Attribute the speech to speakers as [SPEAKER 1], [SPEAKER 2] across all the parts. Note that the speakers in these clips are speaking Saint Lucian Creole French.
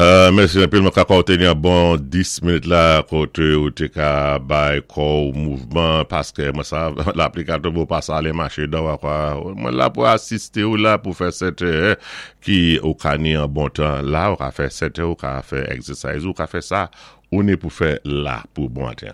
[SPEAKER 1] Mèsi anpil mwen ka kwè ou te gen yon bon 10 minit la kote ou te ka bay kò ou mouvman paske mwen sa lapli ka tonbe ou pa sa ale mache dò wa kwa mwen la pou asiste ou la pou fè sèten ki ou ka ni yon bon tan la ou ka fè sèten ou ka fè egzèsayz ou ka fè sa ou ni pou fè la pou bon maten.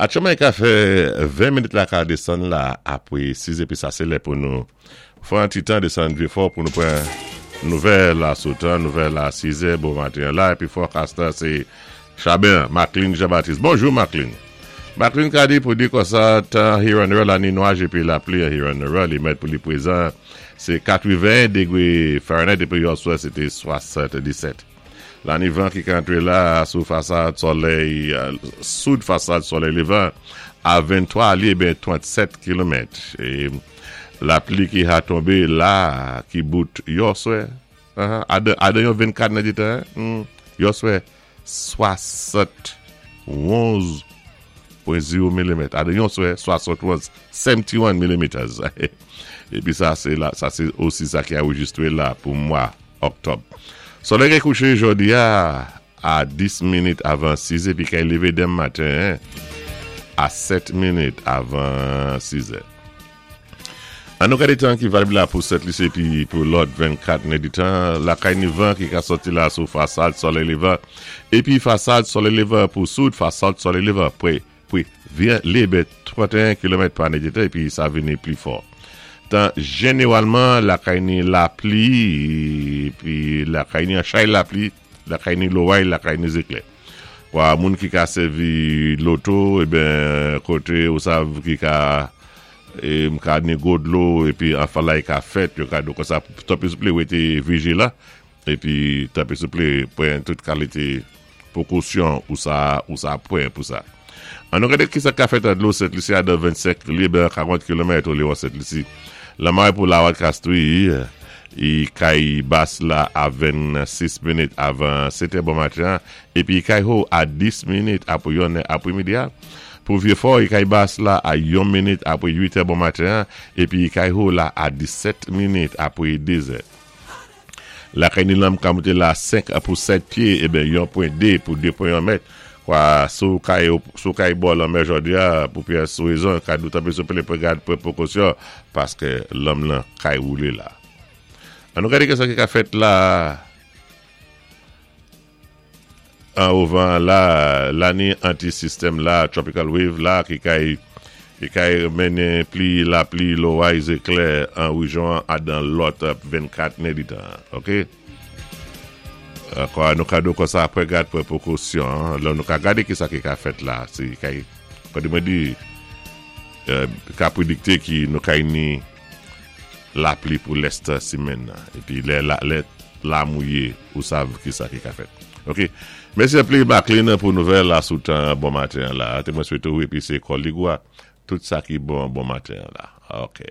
[SPEAKER 1] Atchouman ka fè 20 minit la ka desann la apre 6 epi sa se lè pou nou fè yon ti tan desann Vyefò pou nou pran nouvèl la sou tan nouvèl la 6 è bon maten an la epi forecast la se Chaben Macline Jean Baptiste bonjou Macline Macline ka di pou di konsa tan here and there la ni nwaj epi lapli here and there li mèt pou li prezan se 81 degre Fahrenheit epi yòswè se te 77. Lani van ki ka antre la sou fasad solèy soud fasad solèy levan a 23 li eben 37 kilomèt. E lapli ki ha tonbe la ki bout yòswè adan yon 24 nan di tan yòswè 71 pwen 0 milimèt adan yon swè 71 71 milimeters. Epi sa se la sa se osi sa ki anrejistre la pou mwa. Oktòb. Solèy gen kouche jodi a a 10 minit avan 6 epi kay leve denm maten a 7 minit avan 6 è. An nou gade tan ki valib la pou Sent Lisi epi pou lòt 24 nèditan. Lakay ni van ki ka sòti la sou fasad solèy levan epi fasad solèy levan pou soud fasad solèy levan pre Pri vyen lib 31 kilomèt pa nèdtan epi sa vini pli fò. Tan jeneralman lakay ni lapli epi lakay ni an chay lapli, lakay ni loray, lakay ni zeklè. Kwa moun ki ka sèvi loto eben kote ou sav ki ka e m ka ni gwo dlo epi anfalay ka fèt yo ka di w konsa tanpri souple rete vijilan. Epi tanpri souple pran tout kalite pwokosyon ou sa ou sa pran pou sa. An nou gade kisa k ka fèt an dlo Sent Lisi a dan 25 lib 40 kilomèt olewon Sent Lisi. Lanmare pou Lawat Kastri i kay Bas la a 26 minit avan 7 è bon maten an epi i kay Ho a 10 minit apre yon è apre midi a. Pou Vye Fò i kay Bas la a yon minit apre 8 è bon maten an epi i kay Ho la a 17 minit apre 2 zè. Lakay Nilanm ka moute la 5 pou 7 pye eben yon pwen 2 pou 2 pwen 1 mèt. Kwa sou kay sou kay bò lanmè jodi a pou pyès rezon ka dou tanpri souple pran gad pran prekosyon paske lanm lan kay woule la. An nou gade kisa ki ka fèt la. Anwo van an la, lani anti-sistèm la, tropical wave la ki kay ki kay mennen pli lapli, loray, zeklè an rejyon an adan lòt 24 nèditan an. Ok. Kwa nou ka do konsa pran gad pran prekosyon lò nou ka gade kisa ki ka fèt la si kay kòdi mwen di ka predikte ki nou kay ni lapli pou lès simenn nan epi lè lè la mouye ou sav kisa ki ka fèt ok mèsi anpli Macline pou nouvèl la sou tan bon maten an la te mwen swete ou epi se kòlig ou a tout sa ki bon bon maten an la ok.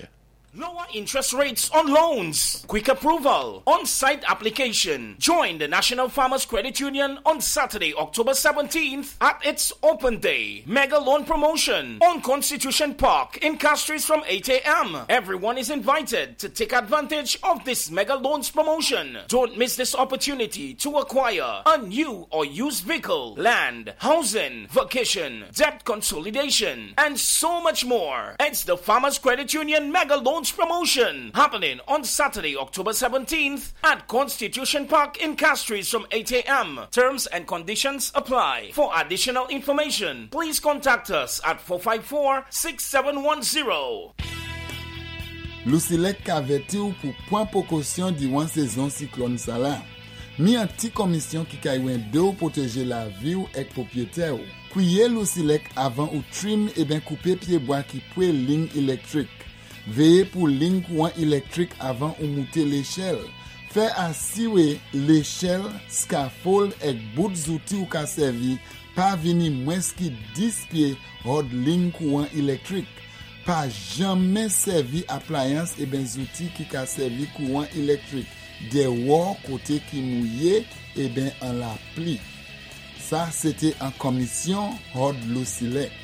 [SPEAKER 2] Lower interest rates on loans, quick approval, on-site application. Join the National Farmers Credit Union on Saturday, October 17th at its open day. Mega loan promotion on Constitution Park in Castries from 8 a.m. Everyone is invited to take advantage of this mega loans promotion. Don't miss this opportunity to acquire a new or used vehicle, land, housing, vacation, debt consolidation, and so much more. It's the Farmers Credit Union Mega Loans Promotion happening on Saturday, October 17th at Constitution Park in Castries from 8 a.m. Terms and conditions apply. For additional information, please contact us at 454 6710.
[SPEAKER 3] Lousilèk ka vèti w pou pwan pwokosyon diwan sezon siklòn sa la. Mi an ti kòmisyon ki kay wende w pwoteje lavi w èk pwopyetè w. Kwiye Lousilèk avan ou trim eben koupe pyebwa ki pwe ling ilèktrik. Veye pou ling kouwan ilèktrik avan ou moute lechèl. Fè asiwe lechèl, skafold èk bout zouti ou ka sèvi pa vini mwens ki 10 pye hòd ling kouwan ilèktrik. Pa janmen sèvi aplayans eben zouti ki ka sèvi kouwan ilèktrik dèwò kote ki mouye eben an lapli. Sa se te an kòmisyon hòd Lousilèk.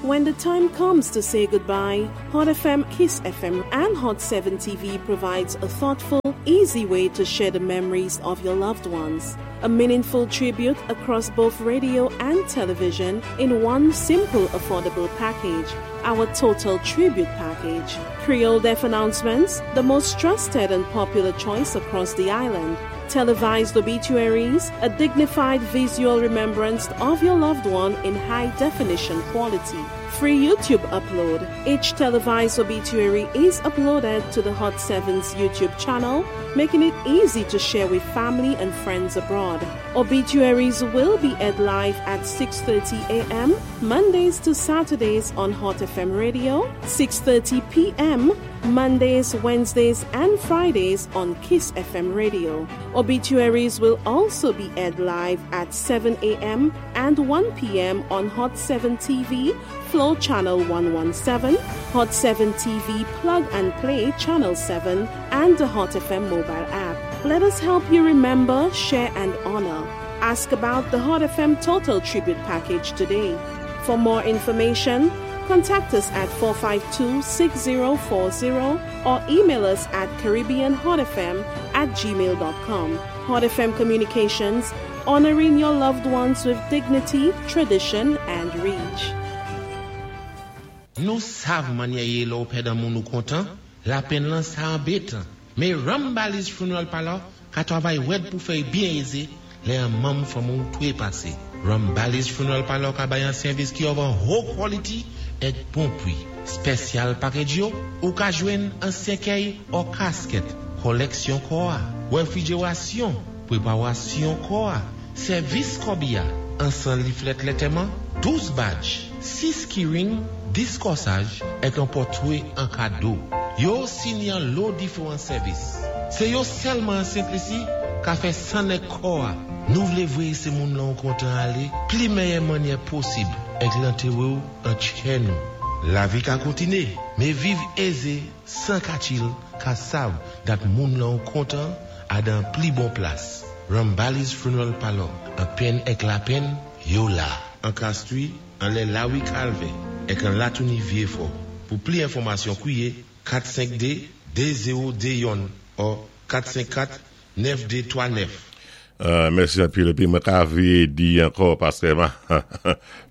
[SPEAKER 4] When the time comes to say goodbye, Hot FM, Kiss FM, and Hot 7 TV provides a thoughtful, easy way to share the memories of your loved ones. A meaningful tribute across both radio and television in one simple, affordable package. Our Total Tribute Package. Creole Death Announcements, the most trusted and popular choice across the island. Televised obituaries, a dignified visual remembrance of your loved one in high definition quality. Free YouTube upload. Each televised obituary is uploaded to the Hot 7's YouTube channel, making it easy to share with family and friends abroad. Obituaries will be aired live at 6:30 a.m. Mondays to Saturdays on Hot FM Radio, 6:30 p.m. Mondays, Wednesdays, and Fridays on Kiss FM Radio. Obituaries will also be aired live at 7 a.m. and 1 p.m. on Hot 7 TV, Flow Channel 117, Hot 7 TV Plug and Play Channel 7, and the Hot FM mobile app. Let us help you remember, share, and honor. Ask about the Hot FM Total Tribute Package today. For more information, contact us at 452 6040 or email us at CaribbeanHotFM at gmail.com. Hot FM Communications, honoring your loved ones with dignity, tradition, and reach.
[SPEAKER 5] Nou sav mannyè yé lè-w pèd an moun ou kontan, lapenn lan sa anbétan. Mé Rambali's Funeral Parlor ka twavay wèd pou fè-y byen ézé lè an manm fanmi-w twé pasé. Rambali's Funeral Parlor ka bay an sèvis ki of an ho quality èk bon pwi. Special package yo, ou ka jwenn an sèkèy or casket, kòlèksyon kò-a, wèfrijérasyon, pwépawasyon kò-a, sèvis kòbi-a, ansan liflèt lètèman, 12 badge, 6 keyring, 10 kòsaj, èk an pòtwé an kado. Yo osi ni an lo diféwan sèvis. Sé yo sèlman an Sent Lisi ka fè sann èk kò-a. Nou vlé vwéyé sé moun lan ou kontan alé pli mèyè mannyè posib èk lantéwé-w an tchè nou. Lavi ka kontiné, mé viv ézé 100 ka chill ka sav dat moun lan ou kontan a dan pli bon plas. Rambali's Funeral Parlor, an penn èk lapenn, yo la. An Castries, anlè Lawi Calvin, èk an Latouni Vieux-Fort. Pou pli enfòmasyon kwiye 452 2021 or 454 9239.
[SPEAKER 1] Mèsi anpil épi mwen ka véyé di ankò paské ma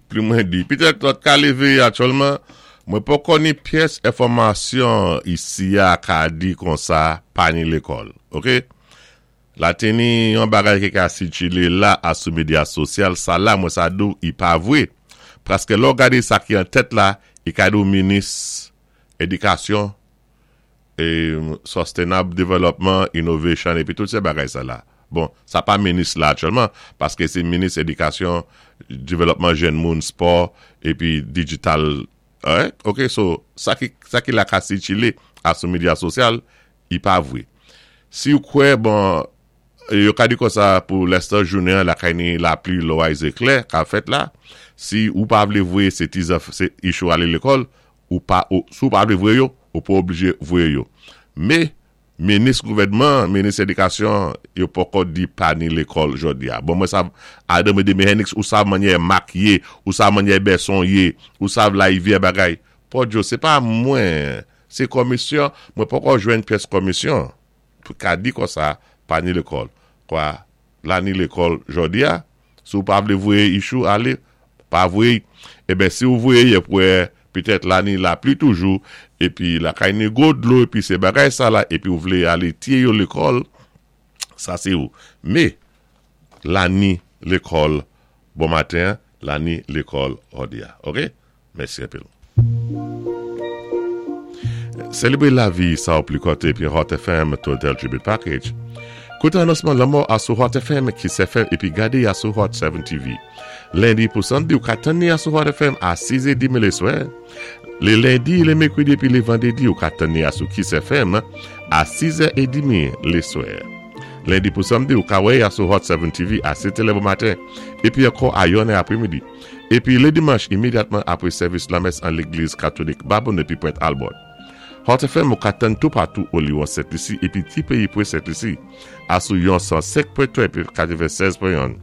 [SPEAKER 1] pli mwen di pitèt lòt ka lévé aktyèlman mwen poko ni pyès enfòmasyon isi a ka di konsa pa ni lékòl ok la té ni yon bagay ki ka sikilé la a sou medya sosyal sa la mwen sa di w i pa vwé paské lè w gadé sa ki an tèt la i ka di w minis édikasyon Sustainable Development, Innovation epi tout se bagay sa la. Bon, sa pa minis la aktyèlman, paske se minis edikasyon, devlòpman jèn moun, spò, epi digital. Alright? Ok, so, sa ki, sa ki la ka sikile a sou medya sosyal, i pa vre. Si ou kwè, bon, yo ka di konsa pou lèstan jounen an lakay ni lapli, loray, zeklè ka fèt la, si ou pa vle voye se ti zanf, se ichou ale lekòl, ou pa ou si w pa vle voye yo, ou pa oblije voye yo. Me, minis gouvènman an, minis edikasyon an, yo poko di pa ni lekòl jodi a. Bon mwen sav Adam Edeme Henix ou sav mannyè Mak ye, ou sav mannyè Bèson ye, ou sav Larivyè bagay. Pòdjo, se pa mwen, se komisyon, mwen poko jwenn pyès komisyon pou ka di konsa pa ni lekòl. Kwa, la ni lekòl jodi a, Si w pa vle voye Ichou ale, pa voye y. Eben, si w voye y ep wè petèt la ni lapli toujou, epi lakay ni gwo dlo, epi se bagay sa la, epi w vle ale tiye yo lekòl, sa se ou. Me, la ni lekòl bon maten an, la ni lekòl jodi a. Ok? Mèsi anpil. Selebre lavi sa w pli kòte epi Hot FM Total Tribute Package. Koute anonsman lanmò a sou Hot FM, Kiss FM epi gade a sou Hot 7 TV. Lendi pou Samdi ou ka tann ni a sou Hot FM a 6 e demi leswè. Le lendi, le mekredi epi le vandredi ou ka tann ni a sou Kiss FM a 6 è e demi leswè. Lendi pou Samdi ou ka wè a sou Hot 7 TV a 7 è le bon maten epi ankò a 1 è apremidi. Epi le dimanch imedyatman apre sèvis lamès an legliz katolik Babonneau epi Pwent Albert. Hot FM ou ka tann toupatou Oliwon Sent Lisi epi ti peyi pre Sent Lisi a sou yon 105.3 epi 96.1.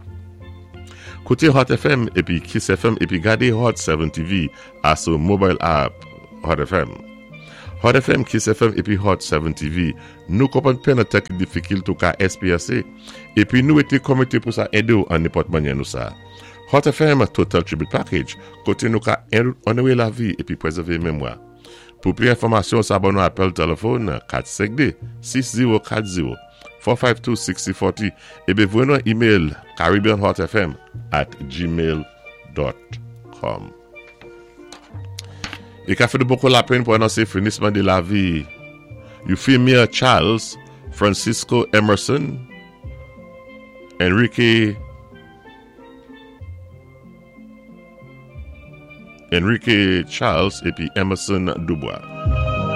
[SPEAKER 1] Kouté Hot FM épi Kiss FM épi gadé Hot 7 TV asou mobile app Hot FM. Hot FM, Kiss FM épi Hot 7 TV, nou konpwann penn an tan ki difikil tou ka èspéyansé, épi nou été konmité pou sa édé-w an nenpòt mannyè nou sa. Hot FM Total Tribute Package, koté nou ka onoré lavi épi pwézèvé memwa. Pou pli enfòmasyon sa ban nou apèl tèlèfòn 452 6040 452 6040 épi voyé nou an email caribbeanhotfm@gmail.com. I ka fè nou bokou lapenn pou anonsé finisman dé lavi Euphemia Charles, Francisco Emerson, Enrique Enrique Charles épi Emerson Dubois.